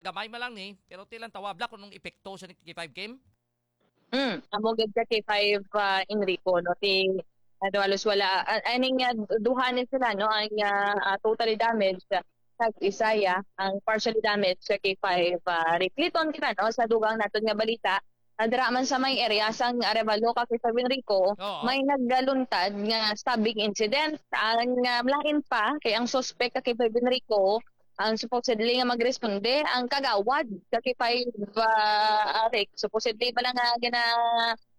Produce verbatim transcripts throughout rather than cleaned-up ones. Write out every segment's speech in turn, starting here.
gamay man lang ni, pero ti lang tawabla kung anong epekto sa ni K five Kim. Mm, amo gid ka K five, ah, Enrico, no? Ti, ano, halos wala, ah, aning, ah, duha ni sila, no? Ang, ah, ah, totally damaged, ah, kag isa ya ang partially damaged sa K five, ah, Rick. Liton kita, no? Sa dugang naton nga balita, ah, dira man sa may area sang Arevalo ka K five Enrico, Oo. may nagaluntad nga stabbing incident. Ang, ah, lain pa, kay ang suspect ka K five Enrico, ang supposedly nga magresponde, ang kagawad ka K five, ah, Rick, supposedly pala nga gina,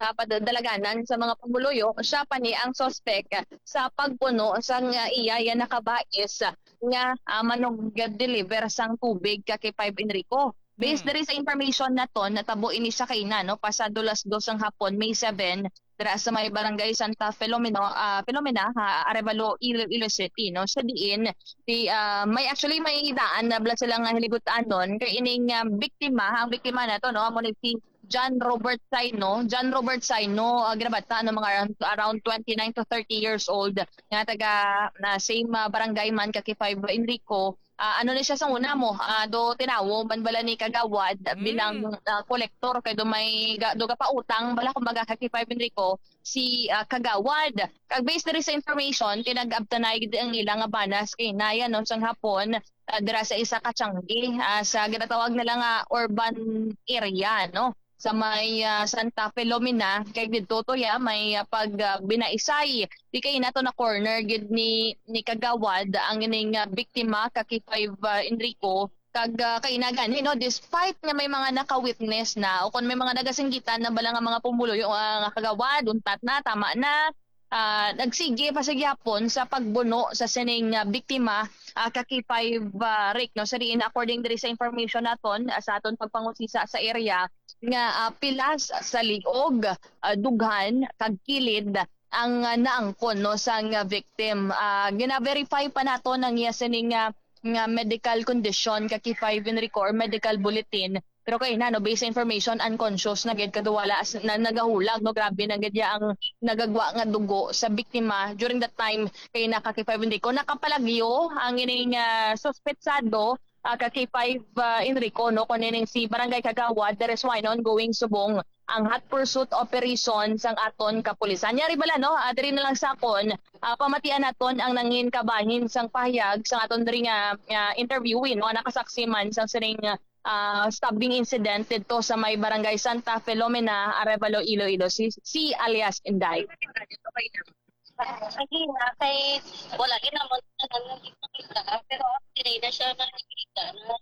ah, padadalaganan sa mga pumuluyo, siya pa ni ang suspect sa pagpuno sang, ah, iya ya nakabais nga, ah, manug-deliver sang tubig ka K five Enrico. Based Hmm. diri sa information naton, natabo ini sa kaina, no, pasado las dos sang hapon, May seven, dira sa may barangay Santa Filomeno, ah, Filomena, ha, Arevalo, Iloilo City, no. Sa diin, di, ah, may, actually, may daan na bala sila nga hiligutan-on kay ining, ah, biktima, ang biktima nato, no, amo ni si John Robert Saino. John Robert Saino, ah, ginabata, no, mga around, around twenty-nine to thirty years old, nga taga, na same, ah, barangay man ka K five Enrico. Ah, ano ni siya sa una mo? Ah, do tinawo man bala ni kagawad Mm. bilang, ah, kolektor kay do may ga, do gapautang bala, kumbaga, ka K five Enrico si, ah, kagawad. Kag based diri sa information, tinag-abtanay gid ang ila nga banas kay naya, no, sang hapon, ah, dira sa isa ka tiyanggi, ah, sa ginatawag nila nga urban area, no, sa may, ah, Santa Filomena, kay didto to ya may, ah, pag, ah, binaisay. Di kay nato na corner gid ni, ni kagawad ang ining, ah, biktima ka K five, ah, Enrico. Kag, ah, kay na gani, no, despite nga may mga naka-witness na o kung may mga nagasinggitan na bala nga mga pumuluyo, ah, nga kagawad, untat na, tama na, ah, nagsige pa sa gihapon sa pagbuno sa sining, ah, biktima, ah, ka K five, ah, Rick, no? Sa diin, according diri sa information naton, ah, sa aton pagpangusisa sa area, nga, ah, pilas sa liog, ah, dughan, kag kilid ang, ah, naangkon, no, sang, ah, victim. Ah, gina-verify pa naton ang iya sining, ah, nga medical condition ka K five Enrico or medical bulletin. Pero kay na, no, based sa information, unconscious na gid, kag wala as-, na nagahulag, no, grabe na gid ya ang nagagwa nga dugo sa biktima during that time kay na ka K five Enrico. Nakapalagyo ang ining, ah, suspetsado, ah, ka K five, ah, Enrico, no, kuno ining si Barangay Kagawad. There is one ongoing subong ang hot pursuit operation sang aton kapulisan. Yari bala, no? Ah, diri na lang sa akon, ah, pamatian naton ang nangin kabahin sang pahayag sang aton diri nga, ah, interviewee, no, nakasaksi man sang sining, ah, stabbing incident didto sa may Barangay Santa Filomena, Arevalo, Iloilo, si, si alias Inday. Sige na, kay wala gid naman na nang nakita, pero ang tinay na siya nakikita na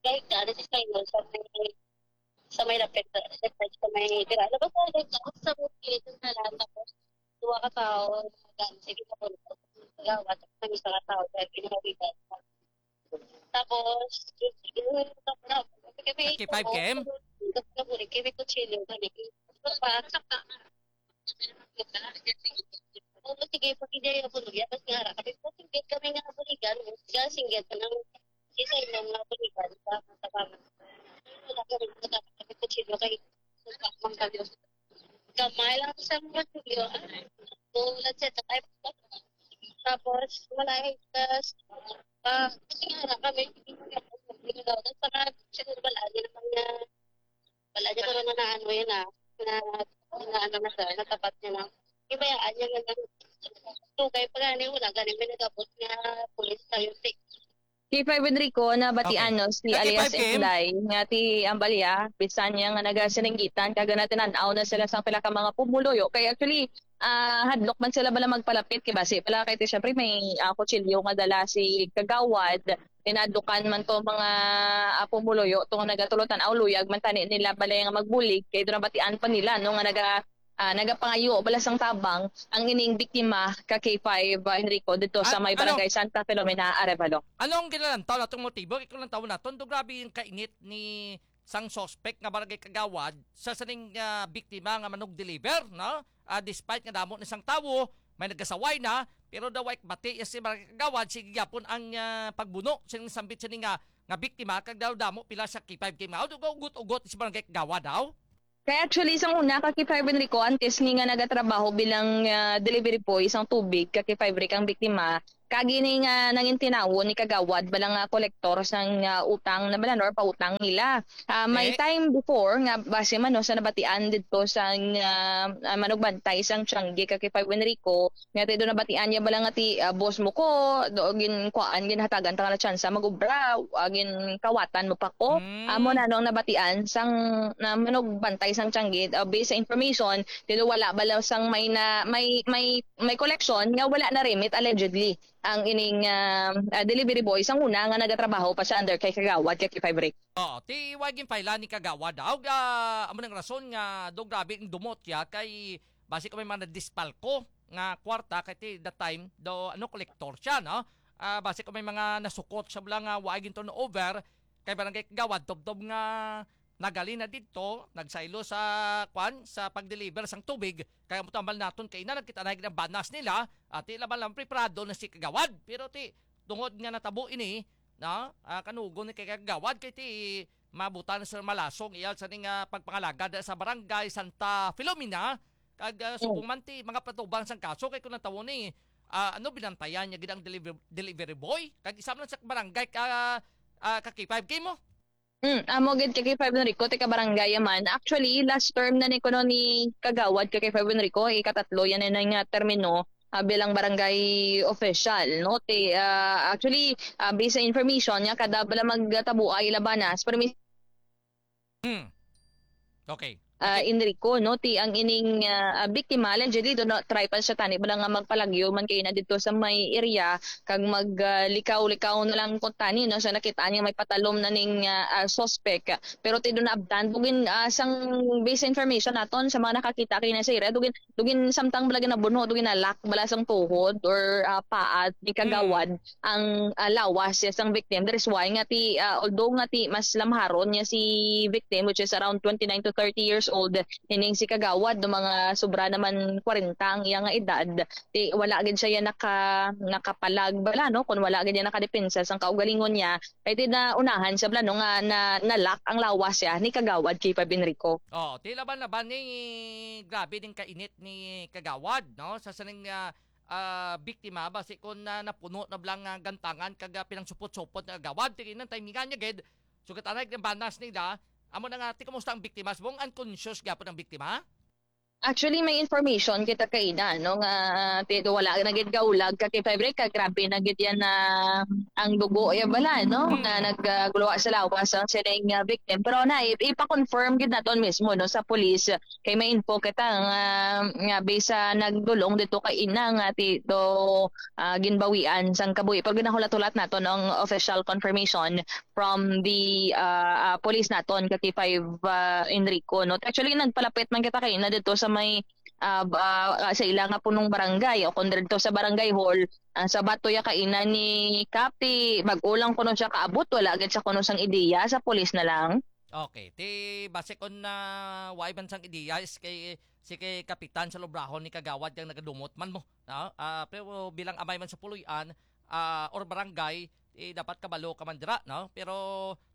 kahit na, nasa China, sa may, sa may lapit, sa may dira. Labas na, sa, sa may kilid na lang, tapos duha ka tao, gan, sige na po, gawat, ang isa ka tao, kaya ginawigan. Tapos, yun, tapos na, kami, K five K M? Tapos na po, kami kutsilyo, kami, pa, saka, Oo, sige, pag hindi ako luya, mas nga ra. Kami po, singgit kami nga buligan, nga singgit ng isa inyong nga buligan sa Matabangan. Wala kami, wala kami kutsilyo kay sumpa man kami. Gamay lang sa mga kutsilyo. Tulad sa tatay. Tapos, wala yung tas, ah, kasi nga ra kami, hindi nga ra kami, hindi nga ra kami, siguro wala, yun naman nga, wala niya karon na ano yun ah, na, na ano na siya, natapat niya na. Ibayaan niya nga lang. So, kay pag ano, wala gani may nagabot nga pulis sa yung K five Enrico, nabatian, Okay. no, si Sa alias K five K M? Inday, nga ti ambal iya, bisan niya nga nagasininggitan, kag natinan-aw na sila sang pila ka mga pumuluyo. Kay actually, ah, hadlok man sila bala magpalapit, kay basi pala kay ti, syempre, may, ah, kutsilyo nga dala si kagawad, tinadukan man to mga, ah, pumuluyo, to nga nagatulong tan-aw, luyag man tani nila bala nga magbulig, kay do nabatian pa nila, no, nga naga, ah, nagapangayo bala sang tabang ang ining biktima ka K five, ah, Enrico, dito sa An-, may ano? Barangay Santa Filomena, Arevalo. Ano ang ginalantaw natong motibo? Ikaw lang tawon naton, do grabe yung kainit ni sang suspect nga barangay kagawad sa sining, ah, biktima nga manug-deliver, no? Ah, despite nga damo ni sang tawo, may nagasaway na, pero daw ay bati ya si barangay kagawad, sige gyapon ang, ah, pagbuno sining sambit sining nga, nga biktima, kag daw damo pila sa K five K M. Ugot-ugot si barangay kagawad daw. Kaya actually, sang una, ka K five Enrico, antes ni nga nagatrabaho bilang, ah, delivery boy sang tubig, ka K five Rick ang biktima, Kag ini nga nangintinawon ni Kagawad bala nga kolektor sang, ah, utang na bala, no, or pautang nila. Ah, may Eh? time before nga base man, no, sa nabatian didto sang, ah, ah, manugbantay sang Tiangge kag kay Five Enrico, nga ti do nabatian niya bala nga ti, ah, boss mo ko, do ginkuan, ginhatagan ta nga na tsansa mag-obra, ah, ginkawatan mo pa ko. Mm. Amo na no ang nabatian sang na manugbantay sang Tiangge, ah, based sa information, ti do wala bala sang may na, may, may, may collection nga wala na remit allegedly ang ining, ah, ah, delivery boy sang una nga nagatrabaho pa siya under kay Kagawad kay K five Rick. Oh, ti wa ginfile ni Kagawad daw. Ah, amo nang rason nga do grabe ang dumot ya kay basi ko may mga nadispalko nga kwarta kay ti that time do ano kolektor siya, no? Ah, basi ko may mga nasukot siya bala nga wa gin turnover kay Barangay Kagawad tubtob nga nagali na didto, nagsaylo sa kwan, sa pag-deliver sang tubig. Kay amo tambal naton kay na nagkita na ang banas nila, at ila man lang preparado na si Kagawad. Pero ti tungod nga natabo ini, no? Ah, kanugon ni kay Kagawad kay ti mabutan sa malasong iyal sa ning, ah, pagpangalagad sa barangay Santa Filomena, kag, ah, Mm. subong man ti mga patubang sang kaso kay kung natawo ni, ah, ano, binantayan niya gid ang deliver-, delivery boy, kag isa man sa barangay ka, ah, ka K five K mo. Mm, amo gid kay K five Enrico, tika barangay man. Actually, last term na ni kuno ni Kagawad kay K five Enrico, ikatatlo yan na nga termino, ah, bilang barangay official, no? Ti, ah, actually, ah, based sa information niya, kada bala magtabuay labanas, permi- Hmm. Okay. Ah, Okay. Enrico, no, ti ang ining, ah, ah, biktima, allegedly, do na, try pa siya tani, bala nga magpalagyo man kayo na dito sa may area, kag mag, ah, likaw-likaw na lang kung tani, no, sa nakita niya may patalom na ning, ah, ah, suspect. Pero ti do na abtan, bugin, ah, sang base information naton sa mga nakakita kayo na sa area, dugin, dugin samtang bala ginabunho, dugin na lock bala sang tuhod or, ah, paat ni Kagawad ang, ah, lawas siya sang victim. That is why nga ti, ah, although nga ti mas lamharon niya si victim, which is around twenty-nine to thirty years old, ining si Kagawad, do mga sobra naman kwarenta ang iya nga edad, ti wala gid siya yan naka-, nakapalag bala, no? Kung wala gid yan nakadepensa sang kaugalingon niya, kay ti na unahan siya bala, no, nga na, nalak ang lawas siya ni Kagawad K five Enrico. Oh, ti laban-laban ni grabe ning kainit ni Kagawad, no? Sa sining, ah, ah, biktima, basi kon na napuno na bala nga gantangan kag, ah, pinangsupot-supot nga gawad, ti ginang timingan niya gid. Sugat anay ang banas nila. Amo na nga, ti kumusta ang biktima? Subong unconscious gyapon ang biktima? Actually, may information kita kaina, no, nga ti wala na gid kaulag ka kay Fibre, ka grabe na gid yan na ang dugo ya bala, no, Hmm. nga nagaguluha sa lawas ang sining, ah, victim. Pero na, i-, ipa-confirm gid naton mismo, no, sa police. Kay may info kita nga, nga bisa nagdulong dito kay ina nga ti do, ah, ginbawian sang kabuhi. Pero ginahulat-hulat naton ang official confirmation from the, ah, ah, police naton, ka K five, ah, Enrico, no? Actually, nagpalapit man kita kay ina dito sa may, ah, ba-, ah, sa ila nga punong barangay o kung dito sa barangay hall, ah, sa bato ya kay ina ni Kapi, bag-o lang kuno siya kaabot, wala agad siya kuno sang ideya sa police na lang. Okay. Ti, base kon na wala man sang ideya, is kay, si kay kapitan sa lubrahon ni Kagawad kang nagadumot man mo, no? Ah, pero bilang amay man sa puloy-an, ah, or barangay, ti dapat kabalo ka man dira, no? Pero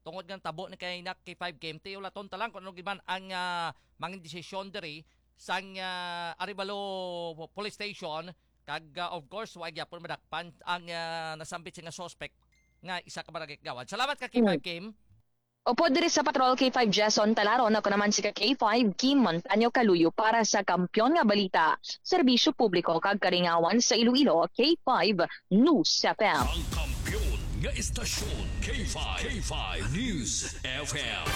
tungod nga tabo ni kay na K five K M T, ulaton ta lang kung ano gid man ang, ah, mga desisyon diri sang, ah, Arevalo Police Station, kag, ah, of course, wa gyapon madakpan ang, ah, nasambit nga suspect nga isa ka barangay kagawad. Salamat ka, K five K M. Opo, diri sa Patrol K five Jason Talaron, ako naman si ka K five Kim Montaño Kaluyo para sa Kampiyon nga Balita, Serbisyo Publiko kag Kalingawan sa Iloilo, K five News F M. Ang kampiyon nga istasyon, K five, K five News F M.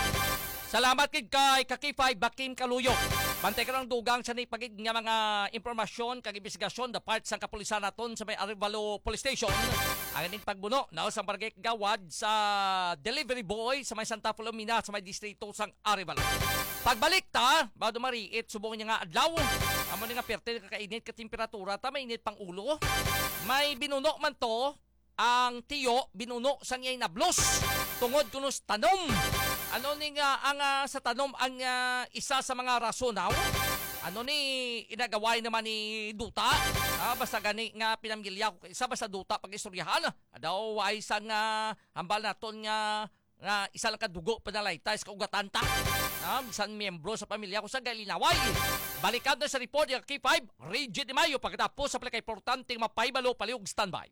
Salamat gid kay ka K five Bakim Kaluyo. Bantay ka lang dugang sa ni pagid nga mga impormasyon kag imbestigasyon da part sang kapulisan naton sa may Arevalo Police Station. Ang ining pagbuno na sa barangay Gawad sa delivery boy sa may Santa Filomena sa may distrito sang Arevalo. Pagbalik ta, ba dumariit subong niya nga adlaw. Amo ni nga perte kakainit ka temperatura ta, mainit pang ulo. May binuno man to, ang tiyo binuno sang iyay nablos tungod kuno sa tanom. Ano ni nga ang, ah, sa tanom ang, ah, isa sa mga rason, aw? Ano ni inagaway naman ni duta? Ah, basta gani nga pinamilya ko isa basta duta pag-istoryahan. Daw ay sang, ah, hambal naton nga, nga isa lang ka dugo panalaytay sa kaugatan ta. Ah, bisan miyembro sa pamilya ko sa galinaway. Balikan na sa report yung K five, Reggie Di Mayo, pagkatapos sa pinakaimportanteng mapahibalo, palihog standby.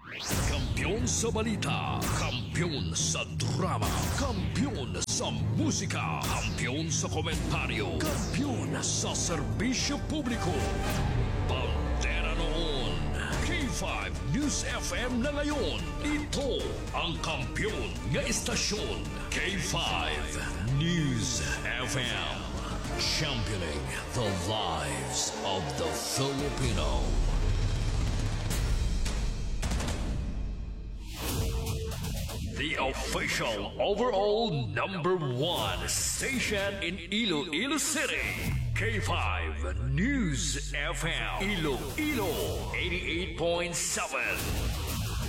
Kampiyon sa balita, kampiyon sa drama, kampiyon sa musika, kampiyon sa komentaryo, kampiyon sa serbisyo publiko. Bandera noon, K five News F M na ngayon. Ito ang kampiyon nga istasyon, K five News F M. Championing the lives of the Filipino. The official overall number one station in Iloilo City, K five News F M, Iloilo eighty-eight point seven.